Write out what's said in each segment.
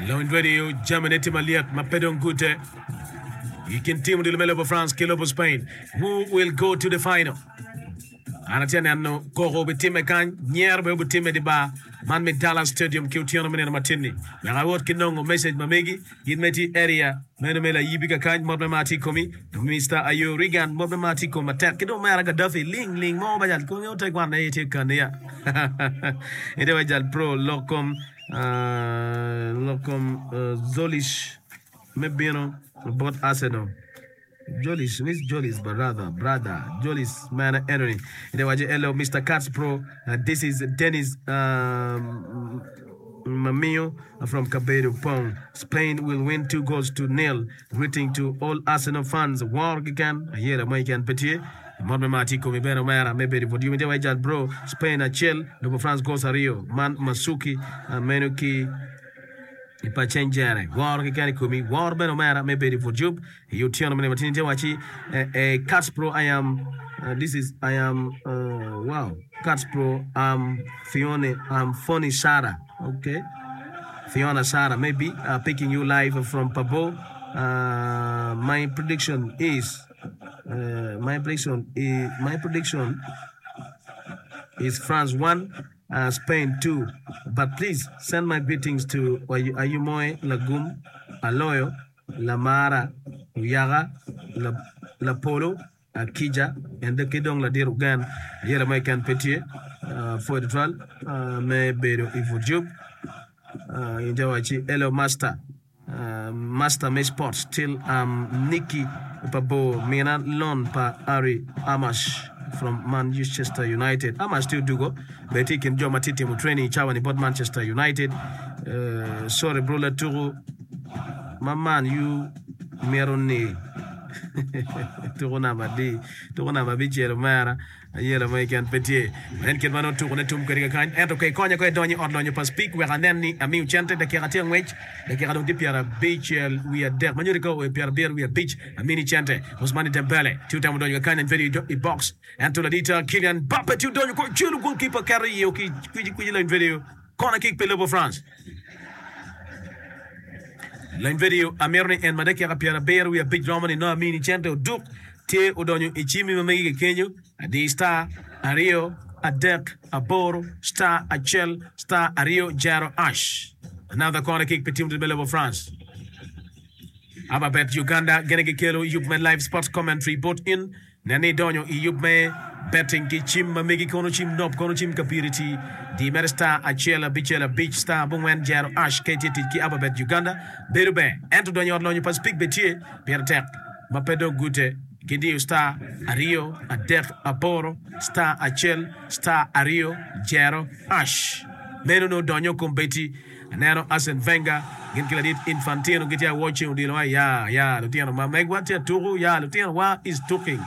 Lony Radio jamine tye malyet ma pe dong gute i kin tim odilo me lobo France ki lobo Spain. Who will go to the final? An atye neno koko obitimme kany, nyero bene obitimme di bar man me Dallas Stadium ki otyeno me nino matin-ni. Wek awot ki nongo message ma megi, in ma itye i area meno me Layibi kakany, mot me mar tye i komi. Mister Ayo Reagan, mot me mar tye i komi matek. Ki dong omera Gaddafi, ling ling mo ba jal konge ote kwan aye tye kani ya. Ite wa jal pro lok kom lok kom Zolish me bino bot Arsenal. Jolis, which Jolis brother, brother, Jolis mene enoni. Ite waco hello Mister Katz bro, this is Dennis Mamiyo from Kabedo Pong. Spain will win 2 goals to nil. Greeting to all Arsenal fans. Woro keken, ayela mo keken pe tye. Mot me mar tye i komi bene omera me bedo i but yom ite waco jal bro, Spain acel, lobo France goals aryo. Man Masuki meno ki I pa ceng jere, woro keken i komi, woro bene omera me bedo i put yub i otyeno me nino matini tye wacci eh Cats Pro I am this is I am wow Cats Pro am Fione am Funny Sarah ok Fiona Sarah maybe picking you live from Pabo my prediction is my prediction is my prediction is France 1 Spain too but please send my greetings to Ayumoe Lagum, Aloyo, Lamara, Oyaka, Lapolo, Akija and ki dong Ladit Ogen ayela mo keken pe tye pwoyo tutwal me bedo i but yub in te wacci hello master. Master me sports till am Nicky pa bor mina loan pa Ari Amash from Manchester United. Amash tye odugo bene tye i kin jo ma tye timo training i cawa ni bot Manchester United. Sorry bro latuku ma Man U mito ni tuku namba adi? Tuku namba abicel omera. Ayela mo keken pe tye. En kit ma nongo tukone tum kwede kakany. Ento ka ikonya ko idonyo i ot lonyo pa Speke wek anen ni amiyo cente dakika tye angwec, dakika dong tye pyerabicel wiye adek ma nyuto ka oo i pyerabiro wiye abic amini cente. Ousmane Dembele tye otemo donyo kakany and very i box ento ladita Kylian Mbappe tye odonyo ko celo goalkeeper keto iye ki kwicikwici lony video corner kick pi lobo France. Lony video amito ni en ma dakika 75 romo ni nongo amini cente oduk tye odonyo i cimmi ma megi kekenyo adi star aryo adek aboro star acel star aryo jero ash another corner kick pi team me lobo France. Ababet Uganda gene gikelo yub me live sports commentary bot in Nen ni idonyo i yub me betting ki cim ma megi kono cim nop kono cim kapiriti di mere star acel abicel abic star abongwen jero ash ka itye tic ki Ababet Uganda bedo ber ento donyo i ot lonyo pa Speke be tye pire tek ma pe dong gute ki diyo star aryo adek aboro star acel star aryo jero ash meno nongo donyo kombeddi Aneno Arsene Wenger gin ki ladit Infantino gitye awoc ceng odilo wa ya ya lutino ma megwa tye atuku ya lutino wa is tuking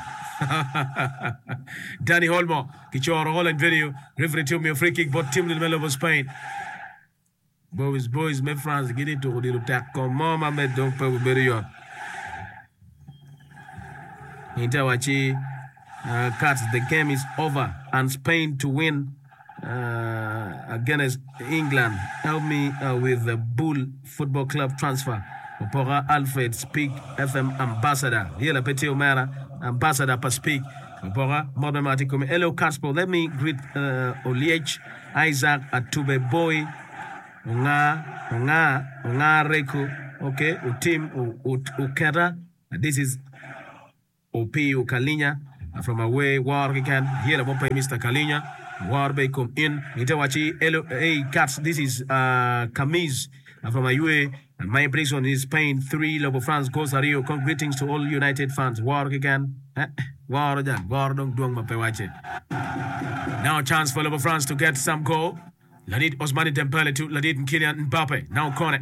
Dani Olmo kicoro Holland video referee tye omiyo free kick bot team me lobo Spain Boys boys me France gitye tuku odilo tek kom mo ma med dong pe obedo yot Inter wacci uh, Cats the game is over and Spain to win against England help me with the Bull football club transfer opoka Alfred Speak FM ambassador yela pe tye omera ambassador pa Speak opoka mot me mar tye komi hello Caspo let me greet Oliech Isaac Atube Boy Onga Onga Onga Reko ok Otim Oketa this is Opiyo Kalinya from away woro keken yelo mo pe Mister Kalinya woro be ikom in ite waci hello hey cats this is Kamiz from aywe my prison is Spain 3 lobo France goals aryo greetings to all United fans woro keken eh woro jang woro dong dwong ma pe wace now chance for lobo France to get some goal. Ladit Ousmane Dembele to ladit Kylian Mbappe. Now Kone.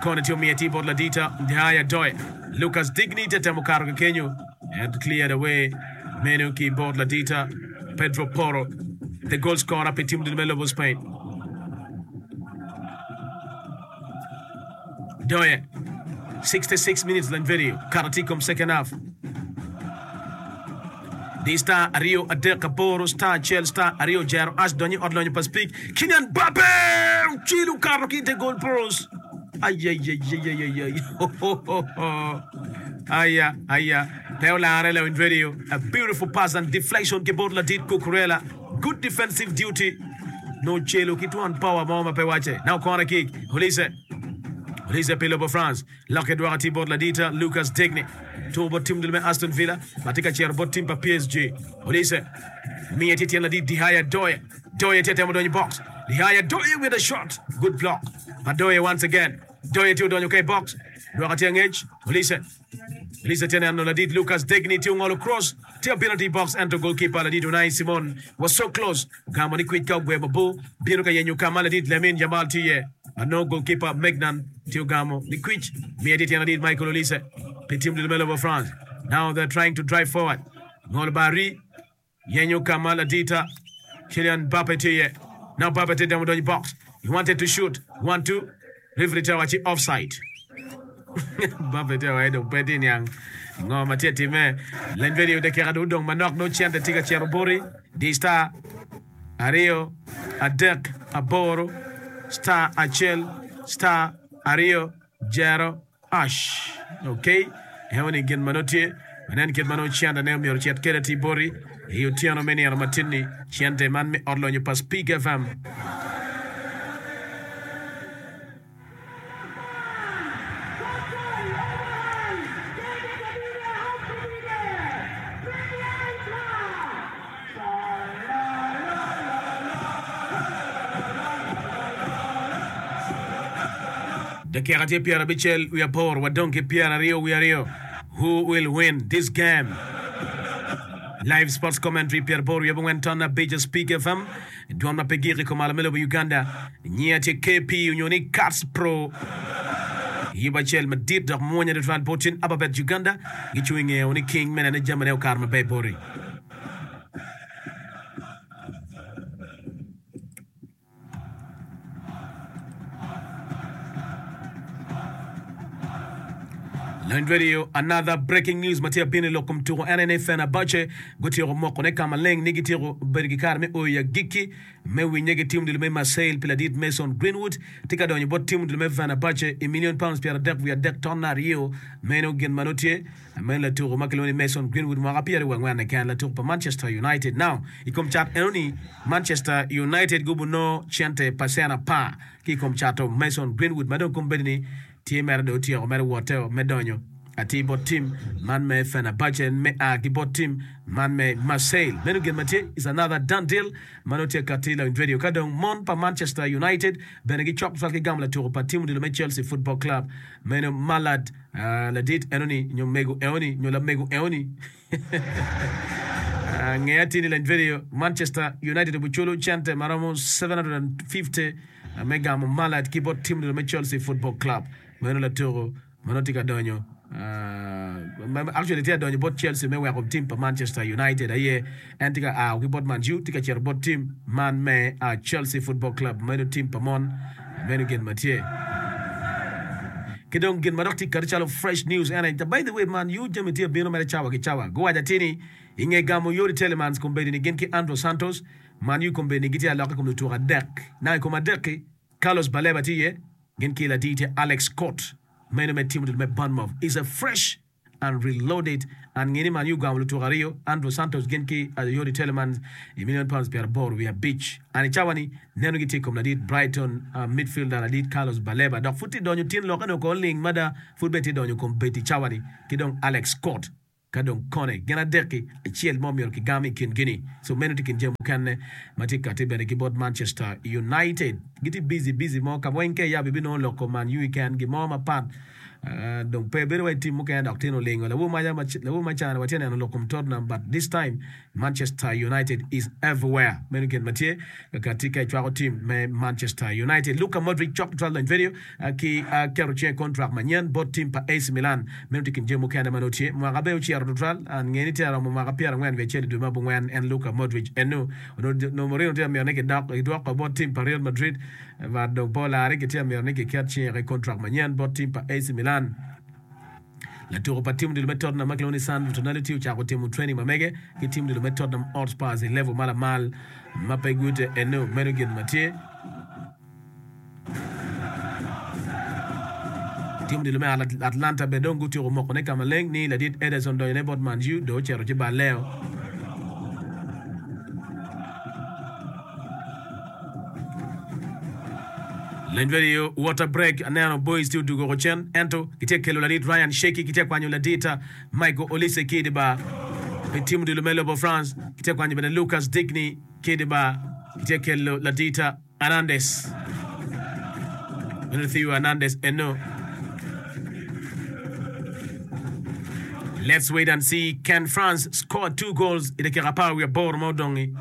Kone tye omiye tye bot ladita Ndihaya Doe. Lucas Digne tye temo kato ki kenyo and cleared away meno ki bot ladita Pedro Porro, the goal scorer pi team me lobo Spain. Doye 66 minutes lany video kato tye i kom second half. Di star aryo adek aboro star acel star aryo jero ash donyo i ot lonyo pa Speke. Kylian Mbappe ocelo okato ki i te goal post. Ayayayayayay Aya aya pe olare lawiny radio. A beautiful pass and deflection ki bot ladit Cucurella. Good defensive duty. Nongo celo ki twon power mo ma pe wacce. Now corner kick. Olise. Olise pi lobo France. Lokke dwoko atir bot ladita Lucas Digne. Tuko bot tim dul me Aston Villa ma tye ka cito bot tim pa PSG. Olise miye tye tyen ladit Dihaya Doye. Doye tye temo donyo i box. Dihaya Doye with a shot. Good block pa Doye once again. Doye tye odonyo ka i box. Dwoko atir angec. Olise. Olise tye neno ladit Lucas Digne tye ongolo cross. Tye obino atir i box ento goalkeeper ladit Unai Simon was so close. Ogamo ni kwic ka ogwe mabor. Bino ka yenyo ka ma ladit Lamine Yamal tye iye. Ma nongo goalkeeper Maignan tye ogamo ni kwic. Miye tye tyen ladit Michael Olise pi tim dul me lobo France. Now they're trying to drive forward. Ngolo bar-ri. Yenyo ka ma ladita Kylian Mbappe tye iye. Now Mbappe tye demo donyo i box. He wanted to shoot. 1-2. Referee tye wacci offside. Mbappe tye wacci dong pe tye niang ngo ma tye timme. Leny video dakika dong odong manok nongo cente tye ka cito boti. Di star aryo adek aboro star acel star aryo jero Ash ok eno ni gin ma nongo tye wanen kit ma nongo cente ne omyero ocit kede atir boti i otyeno me nino matin ni cente man me ot lonyo pa Speak FM. Dakika tye pyerabicel wiye aboro wadong ki pyeraryo wiye aryo Who will win this game? Live sports commentary pyeraboro wiye abongwen ton abic Speak FM dwon ma pe gik i kom alo me lobo Uganda Nyinga tye KP onyo ni Cats Pro Yub acel madit dok mwonya tutwal bot cen Ababet Uganda gicung i ngeo ni king me nene jamine okato maber boti. Lony Radio, another breaking news ma tye abino i lok kom tuko en aye ni Fenerbahce gutyeko mokone ka maleng ni gityeko bedo ki kare me oyo i agikki me winye ki tim dul me Marseille pi ladit Mason Greenwood tye ka donyo bot tim dul me Fenerbahce i million pounds 32 tonna aryo meno gin ma nongo tye Meno latuko ma kilwongo ni Mason Greenwood mwaka pyeraryo wiye angwen keken latuko pa Manchester United. Now i kom cat enoni Manchester United gubunongo cente pacen apar ki i kom cato Mason Greenwood ma dong kombeddi ni tye mere dong otyeko mere wotte me donyo atir bot tim man me Fenerbahce me a ki bot tim man me Marseille. Meno gin ma tye is another done deal ma nongo tye kati lawiny radio. Ka dong mon pa Manchester United bene gicok tutwal ki gamo latuko pa tim odilo me Chelsea Football Club meno Malad Ladit enoni nyo mego enoni nyo lamego enoni nge atir ni lany video Manchester United obiculo cente ma romo 750 me gamo Malad ki bot tim me Chelsea Football Club. Meno latuko ma nongo tye ka donyo actually tye ka donyo bot Chelsea me weko tim pa Manchester United aye en tye ka a ki bot Man U tye ka cito bot tim man me Chelsea Football Club meno tim pa mon meno gin ma tye ki dong gin ma dok tye kati calo fresh news en aye by the way Man U jami tye bino mere cawa ki cawa guwaco atir ni i nge gamo Youri Tielemans kombeddi ni gin ki Andro Santos Man U kombeddi ni gitye aloka i kom lutuko adek naka i kom adek-ki Carlos Baleba tye iye gin ki ladite Alex Scott meno me tim me Bournemouth is a fresh and reloaded and nge ni Man U ogamo lutuko aryo, Andrew Santos gin ki Youri Tielemans i million pounds 85. And i cawa ni neno gitye i kom ladit Brighton midfielder ladit Carlos Baleba dok pud tye donyo tin lokke ni oko ling mada pud bene tye donyo kom bed i cawa ni ki dong Alex Scott Ka dong kone gin adek-ki, acel mo myero kigam i kingi-ni. So meno tye i kin jami mukene ma tye kati bene ki bot Manchester United. Gitye busy busy mo ka weng ka iyabo ibinongo lok kom Man U keken gin mo mapat dong pe bedo wai tim mukene dok tino olingo. Lawor maca lawor macani watye neno lok kom Tottenham but this time Manchester United is everywhere. Meno gin ma tye kakati ka icwako tim me Manchester United. Luka Modric cok tutwal lony vedio ki keto cinge i kontrak manyen bot tim pa AC Milan. Meno tye i kin jami mukene ma nongo tye. Mwaka bene ocito tutwal. An nge ni tye aromo mwaka pyerangwen wiye acel i dwe me abongwen en Luka Modric eno onongo Mourinho tye ka mito ni kidok kidwoko bot tim pa Real Madrid but dong pe olare kitye ka mito ni kiket cinge i kontrak manyen bot tim pa AC Milan. Latuko pa tim odilo me Tottenham ma kilwongo ni Sandro Tonali tye ocako timo training ma mege ki tim odilo me Tottenham Hotspurs i level ma lamal ma pe gute eno meno gin ma tye. Tim odilo me Atlanta bene dong gutyeko mokone ka maleng ni ladit Ederson donyone bot Man U dong ocito ci balleo. Leny radio water break aneno boys tye odugo oko cen ento gitye ka kelo ladit Ryan Sheki gitye ka kwanyo ladit Michael Olise ki i dye bar pi tim odilo me lobo France gitye ka kwanyo bene Lucas Digne ki i dye bar gitye ka kelo ladit Hernandez meno Theo Hernandez eno. Let's wait and see can France score 2 goals i dakika 18 ma odong-ngi.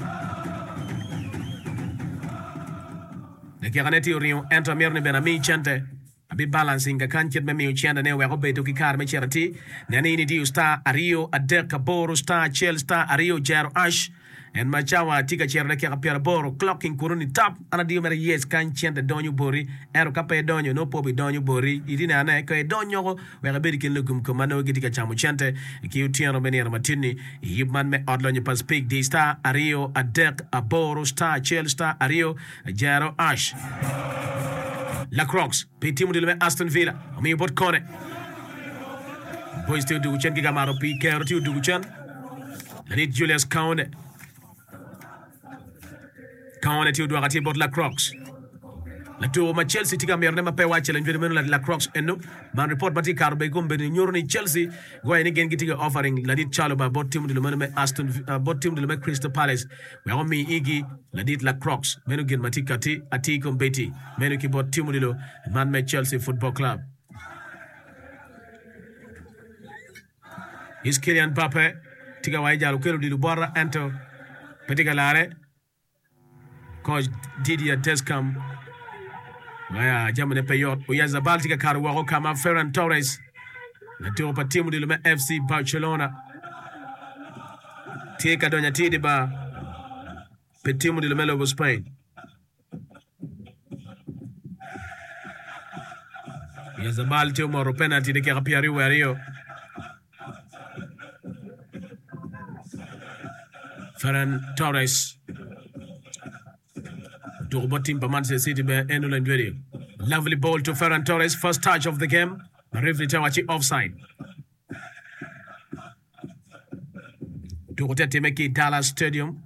Dakikane tye oringo ento amito ni bene ami cente. Abi balancing kakany kit me miyo cente ne wek obedo ki kare me cito atir. Nen ni in idiyo star aryo adek aboro star acel star aryo jero ash en ma cawa tye ka cito dakika 80 clocking kunu ni tap an adiyo mere yes kany cente donyo boti ento ka pe idonyo nongo pe obidonyo boti itye neno ne ka idonyoko wek ibed i kin lugum kom ma nongo gitye ka camo cente ki otyeno me nino matin-ni i yub man me ot lonyo pa Speke di star aryo adek aboro star acel star aryo jero ash. Lacroix pi tim odilo me Aston Villa omiyo bot Kone. Boys tye odugu cen ki ka mato pii kero tye odugu cen. Ladit Julius Kaonde. Kaonde tye odwoko atir bot Lacroix. Latuko ma Chelsea tye ka mitone ma pe wacce lanywedo meno Lacroix eno. Man ripot ma tye ka kato bene i kom bedo ni nyuto ni Chelsea guwaco ni gin gitye ka offering ladit Chalobah bot tim odilo meno me Aston bot tim odilo me Crystal Palace wek omi igi ladit Lacroix. Meno gin ma tye kati atir kombeddi meno ki bot tim odilo man me Chelsea Football Club. Is Kylian Mbappe tye ka waco jal okelo odilo bota ento pe tye ka lare. Koc Didier Deschamps aya jamine pe yot. Oyarzabal tye ka kato woko ka ma Ferran Torres latuko pa tim odilo me FC Barcelona tye ka donyo atir i bar pi tim odilo me lobo Spain. Oyarzabal tye omoto penalty dakika 22. Ferran Torres otuko bot tim pa Manchester City bene en olony dwedi. Lovely ball to Ferran Torres, first touch of the game. Ma referee te wacci offside. Tuko te time ki Dallas Stadium.